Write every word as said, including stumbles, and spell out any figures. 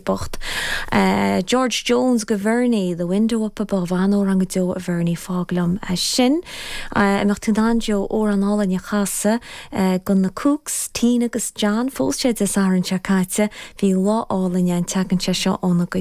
bocht. Uh, George Jones go Vernie, The Window Up Above an-amhrán go deo a Vernie fág liom uh, sin. Uh, mbeadh tú in ann Joe amhrán álainn a chasadh uh, do na Cooks, Tina agus John phós siad Dé Sathairn seo caite, bhí lá álainn an tseachtain seo óna gcuid